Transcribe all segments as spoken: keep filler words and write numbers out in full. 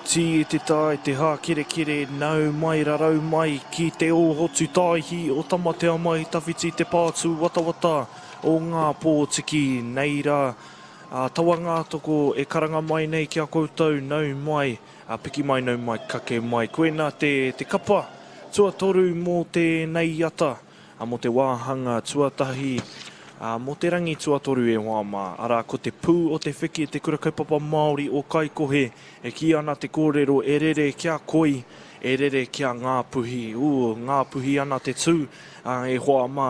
tī e te tā e te hākerekere, nau mai rarau mai ki te ohotu tāihi o Tamatea mai tawhiti te pātū watawata o Ngā Pōtiki. Nei rā, a Tawa Ngātoko e karanga mai nei ki a koutou, nau mai, a piki mai, nau mai, kake mai. Koina te, te kapa tuatoru mō tēnei ata, a mō te wāhanga tuatahi, a mō te rangi tuatoru e hoa mā. Arā, ko te pū o te wheke te kura kaupapa Māori o Kaikohe, e kī ana te kōrero e rere kia koi, e rere kia Ngāpuhi. Ū, Ngāpuhi ana te tū, a, e hoa mā,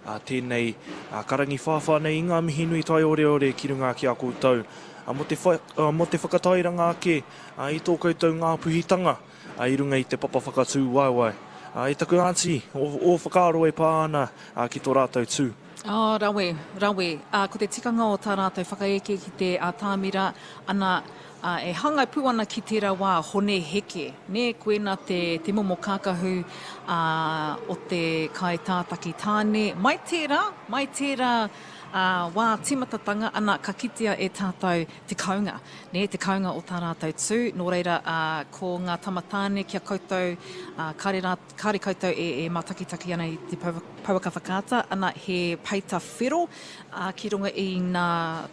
a, tēnei a, karangi whāwhā nei i ngā mihi nui taioreore ki runga ki a koutou. A, mō te, wha, a, mō te whakatairanga ake a, i tō koutou Ngāpuhitanga a, i runga i te papa whakatū waewae. A, e taku aunty, o, o whakaaro e pā ana a, ki tō rātou tū. Oh, rawe, rawe. Uh, ko te tikanga o tā rātou whakaeke ki te atamira, ana, uh, e hāngai pū ana ki tērā wā, Hone Heke. Nē, koena te, te momo kākahu uh, o te kai tātaki tāne. Mai tērā, mai tērā uh, wā tīmatatanga, ana, ka kitea e tātou te kaunga. Nē, te kaunga o tā rātou tū. Nō reira, uh, ko ngā tama tāne kia koutou, uh, kāre, rā, kāre koutou e, e mātakitaki ana i te pouaka whakaata, ana he peita whero uh, ki runga i ngā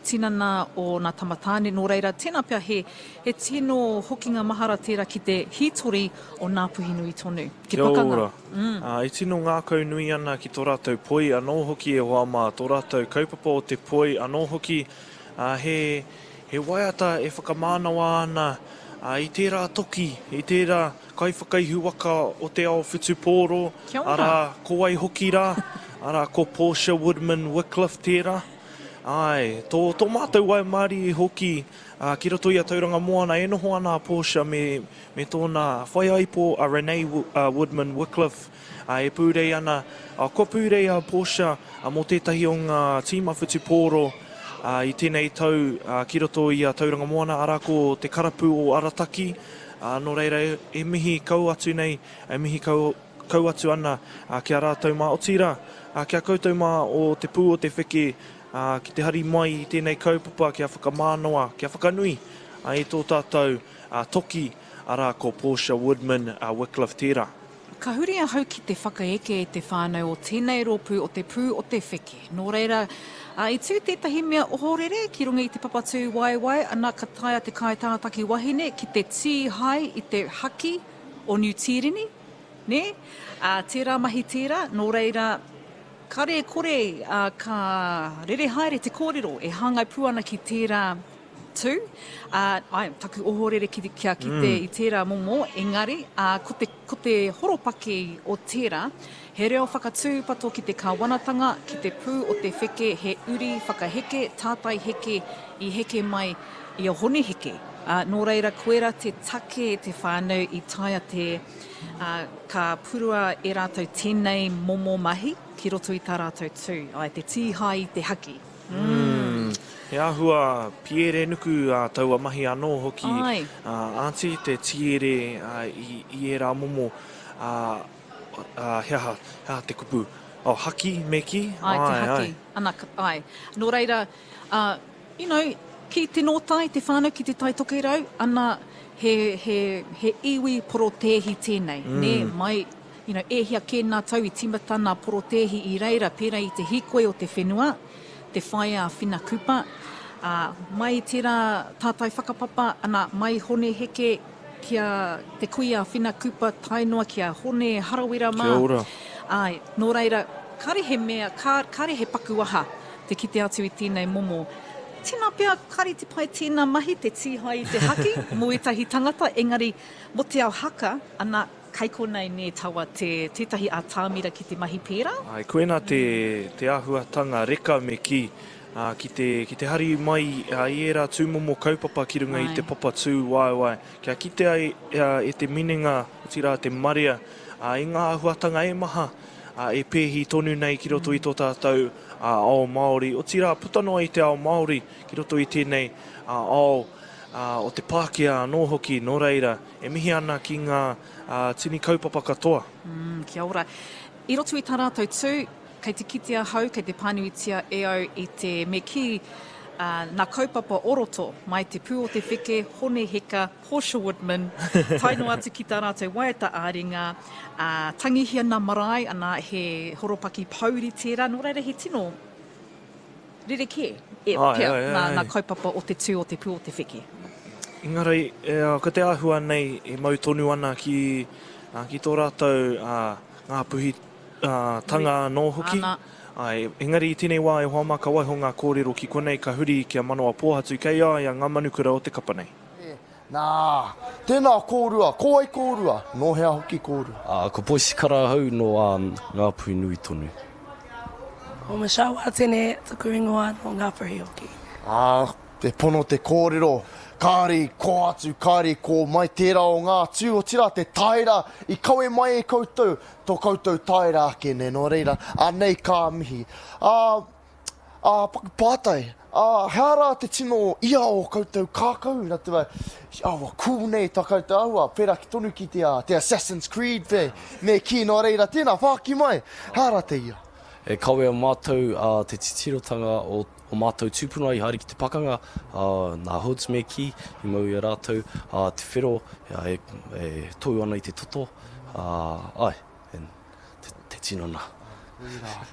tinana o ngā tama tāne. Nō reira, tēnā pea he, he tino hokinga mahara tērā ki te hītori o Ngāpuhi nui tonu. Ki Kia pakanga. ora. Mm. Uh, e tino ngākau nui ana ki tō rātou poi anō hoki e hoa mā, tō rātou kaupapa o te poi anō hoki, uh, he, he waiata e whakamānawa ana uh, i tērā toki, i tērā kaiwhakaihu waka o te ao whutupōro, Kia ora. arā, ko wai hoki rā, arā, ko Portia Woodman Wycliffe tērā. Ai, tō, tō mātou waimārie hoki uh, ki roto i a Tauranga Moana e noho ana a Portia me, me tōna whaiaipo a Renee uh, Woodman Wycliffe uh, e pūrei ana, uh, kua pūrei a Portia uh, mō tētahi o ngā tīma whutupōro uh, i tēnei tau uh, ki roto i a Tauranga Moana, arā ko te karapu o Arataki. Uh, nō reira e, e mihi kau atu nei, e mihi kau, kau atu ana uh, ki a rātou mā. Otirā, uh, kia koutou mā o te pū o te wheke uh, ki te hari mai i tēnei kaupapa kia whakamānawa, kia whakanui uh, i tō tātou uh, toki, arā ko Portia Woodman uh, Wycliffe tērā. Ka huri ahau ki te whakaeke e te whānau o tēnei rōpū o te pū o te wheke. Nō reira, uh, i tū tētahi mea ohorere ki runga i te papatū waewae, ana ka taea te kaitātaki wahine ki te tīhai i te haki o Niu Tīreni, nē? Uh, tērā mahi tērā, nō reira, kare kore uh, ka rere haere te kōrero e hāngai pū ana ki tērā tū. Uh, ai, taku ohorere ki, kia kite mm. i tērā momo, engari, uh, ko te, ko te horopaki o tērā, he reo whakatūpato ki te kāwanatanga, ki te pū o te wheke, he uri whakaheke, tātai heke i heke mai i a Hone Heke. Uh, nō reira, koera te take te whānau i taea te uh, ka purua e rātou tēnei momo mahi ki roto i tā rātou tū, ai, te tīhai i te haki. Mm. He āhua piere nuku uh, taua mahi anō hoki. Ai. Uh, aunty, te tiere uh, i, i ērā momo, uh, uh, he aha, he aha te kupu, oh, haki me ki? Ai, te haki. Ana, ai. Nō reira, uh, you know, ki te nōtai, te whānau ki te Tai Tokerau, ana, he, he, he iwi porotēhi tēnei. Mm. Nē, mai, you know, e hia kē nā tau i tīmata nā porotēhi i reira, pērā i te hīkoi o te whenua, te whaea Whina Kupa, uh, mai tērā tātai whakapapa, ana, mai Hone Heke ki a te kuia Whina Kupa, tae noa ki a Hone Harawira mā. Kia ora. Ai, nō reira, kare he mea, kare he pakuaha te kite atu i tēnei momo. Tēnā pea, kare te pai tēnā mahi, te tīhai i te haki, mō ētahi tangata, engari, mō te ao haka, ana, kei konei nē tawa te, tētahi atamira ki te mahi pērā. Ai, koena te, te āhuatanga reka me ki, uh, ki, te, ki te hari mai uh, i ērā tūmomo kaupapa ki runga Ai. i te papa tū waewae. Kia kite ai uh, e te minenga, otirā te marea, uh, i ngā āhuatanga e maha, uh, e pēhi tonu nei ki roto i tō tātou uh, ao Māori. Otirā, puta noa i te ao Māori ki roto i tēnei uh, ao uh, o te Pākehā anō hoki, nō reira, e mihi ana ki ngā uh, tini kaupapa katoa. Mm, kia ora. I roto i tā rātou tū, kei te kite ahau, kei te pānuitia e au i te me kī, uh, nā kaupapa o roto, mai te Pū o te Wheke, Hone Heka, Portia Woodman, tae noa atu ki tā rātou waiata ā-ringa, uh, tangihia nā marae, ana he horopaki pouri tērā, nō reira he tino rerekē e Ai, pea ai, ai, nā, nā ai. kaupapa o te tū o te Pū o te Wheke. Engari, e, ko te āhua nei e mau tonu ana ki, uh, ki tō rātou uh, Ngāpuhi uh, tanga anō hoki. Ana. Ai, engari i tēnei wā e hoa mā ka waiho ngā kōrero ki konei ka huri kia manawa pōhatu kei a ia ngā manukura o te kapa nei. Nā, tēnā kōrua, ko wai kōrua, nō hea hoki kōrua? Uh, ko Boyce Karahau no um, Ngāpuhi nui tonu. Ko Michelle Watene, taku ingoa no Ngāpuhi hoki. Ā, te pono te kōrero, kāre i kō atu, kāre i kō mai tērā o ngā tū, otirā te taera i kawe mai e koutou, tō koutou taera ake nei, nō reira, anei ka mihi. Ā, ā, paku pātai, ā, hea rā te tino ia o koutou kākau, nā te mea, ā, ua cool nei tā koutou āhua, pērā ki tonu ki te, ā, te Assassin's Creed pē, me kī, nō reira, tēnā, whāki mai, hea rā te ia? E kawea mātou uh, te titirotanga o, o mātou tūpuna i haere ki te pakanga, uh, nā Hoods me kī, i mau i a rātou, uh, te whero uh, e, e tohu ana i te toto, uh, ai, en, te, te tinana.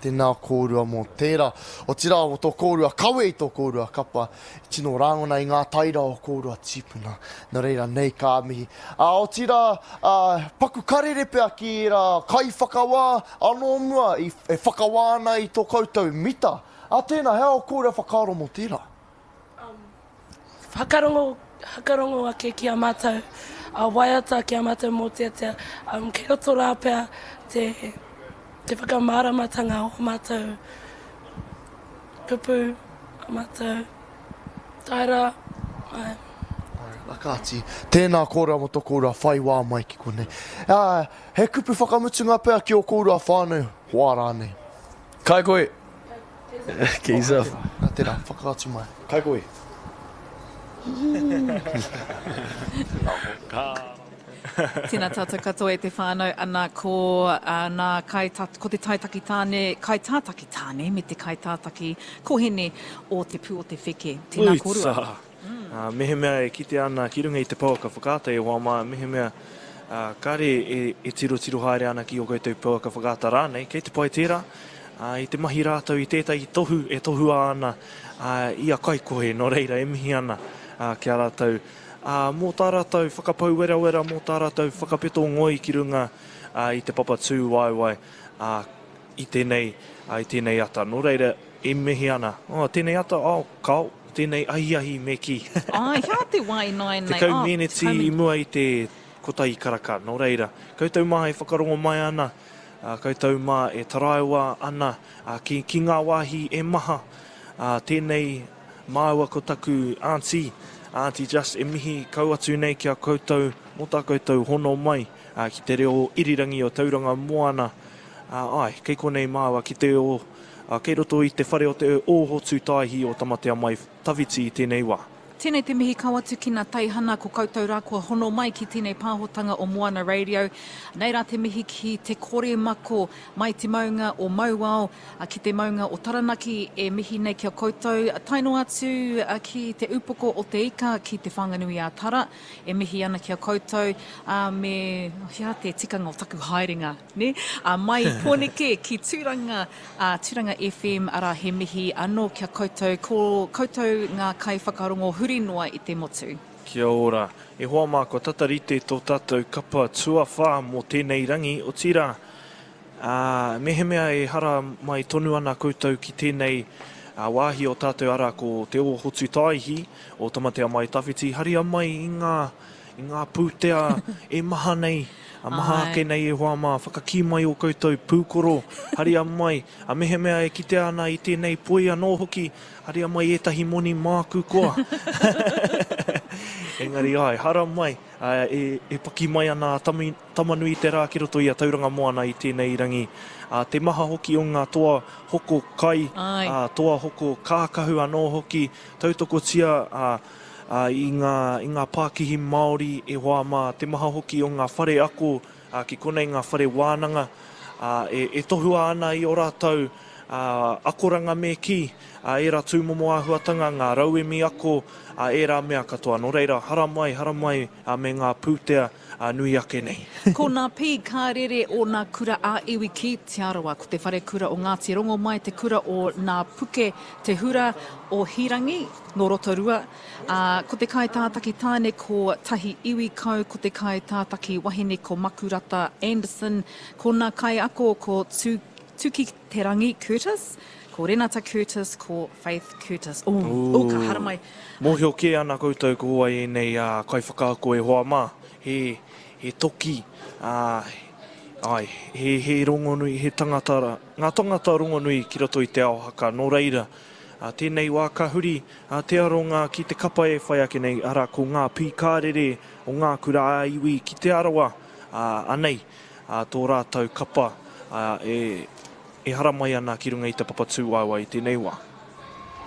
Tēnā kōrua mō tērā. Otirā o tō kōrua kawe i tō kōrua kapa, tino rāngona i ngā taira o kōrua tīpuna. Nō reira, nei ka mihi. Ā, otirā, ā, paku karere pea ki ērā kaiwhakawā anō mua i, e whakawā ana i tō koutou mita. Ā, tēnā, hea o kōrua whakaaro mō tērā? Whakarongo, whakarongo ake ki a mātou, a waiata ki a mātou mōteatea. Um, kei roto rā pea te, te whakamāramatanga o mātou kupu, a mātou taera. Ai. Ai, kāti, tēnā kōrua mō tō kōrua whai wā mai ki konei. Ā, he kupu whakamutunga pea ki o kōrua whānau, hoa rānei. Kai koe! Ki yourself. Nā tērā, whakaatu mai. Kai koe! Tēnā tātou katoa e te whānau, ana ko, uh, nā kai ta, ko te taitaki tāne, kai tātaki tāne me te kai tātaki kohene o te Pū o te Wheke. Tēnā kōrua. Uitsa. Uh, mehemea e kite ana ki runga i te pouaka whakaata e hoa mā, mehemea uh, kāre e, e tiro tiro haere ana ki o koutou pouaka whakaata rānei, kei te pai tērā, uh, i te mahi rātou i tētahi tohu e tohua ana uh, i a kaikohe, nō reira e mihi ana uh, ki a rātou. Uh, mō tā rātou whakapau werawera, mō tā rātou whakapeto ngoi ki runga uh, i te papa tū waewae uh, i tēnei, uh, i tēnei ata. Nō reira, e mihi ana. Oh, tēnei ata, oh, kao, tēnei ahiahi me ki. Ai, hea te wā i nāianei? Tekau Oh, meneti tekau i mua i te kotahi karaka. Nō reira, koutou mā e whakarongo mai ana, uh, koutou mā e taraiwa ana uh, ki, ki ngā wāhi e maha. Uh, tēnei māua ko taku auntie, Auntie Just, e mihi kau atu nei ki a koutou, mō tā koutou hono mai uh, ki te reo irirangi o Tauranga Moana. Uh, ai, kei konei māua ki te o, uh, kei roto i te whare o te Ohotu Taihi o Tamatea Mai Tawhiti i tēnei wā. Tēnei te mihi kau atu ki ngā teihana ko koutou rā kua hono mai ki tēnei pāhotanga o Moana Radio. Nei rā te mihi ki te kore mako mai te maunga o Mauao, a, ki te maunga o Taranaki e mihi nei ki a koutou. Tae noa atu a, ki te upoko o te ika ki te Whanganui a Tara e mihi ana ki a koutou, a, me hea te tikanga o taku haerenga, ne? A, mai Pōneke ki Tūranga, a, Tūranga F M, ara he mihi anō ki a koutou, ko koutou ngā kaiwhakarongo huri noa i te motu. Kia ora. E hoa mā, kua tatarite tō tātou kapa tuawhā mō tēnei rangi, otirā, ā, mehemea e hara mai tonu ana koutou ki tēnei, ā, wāhi o tātou ara ko te Ohotu Taihi o Tamatea Mai Tawhiti, haria mai i ngā, i ngā pūtea e maha nei, a maha Ai. ake nei e hoa mā, whakakī mai o koutou pūkoro, haria mai, a mehemea e kitea ana i tēnei poi anō hoki, haria mai ētahi moni māku koa. Engari ai, hara mai, ā, e, e paki mai ana a Tami, Tamanui te rā ki roto i a Tauranga Moana i tēnei rangi. Ā, te maha hoki o ngā toa hoko kai, Ai. ā, toa hoko kākahu anō hoki, tautokotia, ā, ā, i ngā, i ngā pākihi Māori e hoa mā, te maha hoki o ngā whare ako, ā, ki konei ngā whare wānanga, ā, e, e tohua ana i o rātou, uh, akoranga me ki, uh, ērā tūmomo āhuatanga, ngā rauemi ako, uh, ērā mea katoa. Nō reira, haramai, haramai uh, me ngā pūtea uh, nui ake nei. Ko nā pī kā rere o nā kura a iwi ki Te Arawa. Ko te wharekura o Ngāti Rongomai, te kura o Nā Puke, te hura o Hirangi, nō Rotorua. Uh, ko te kaitātaki tāne ko Tahi Iwi Kau, ko te kaitātaki wahine ko Makurata Anderson, ko nā kaiako ko Tu, Tuki Te Rangi Curtis, ko Renata Curtis, ko Faith Curtis. Oh, oh, ka haramai. Mōhio kē ana koutou ko wai ēnei uh, kaiwhakaako e hoa mā. He, he toki, uh, ai, he, he rongonui, he tangata, ngā tangata rongonui ki roto i te ao haka. Nō reira, uh, tēnei wā ka huri uh, te aronga ki te kapa e whai ake nei, ara ko ngā pīkārere o ngā kura a iwi ki Te Arawa, uh, anei, uh, tō rātou kapa uh, e, e haramai ana ki runga i te papa tūwaewae i tēnei wā.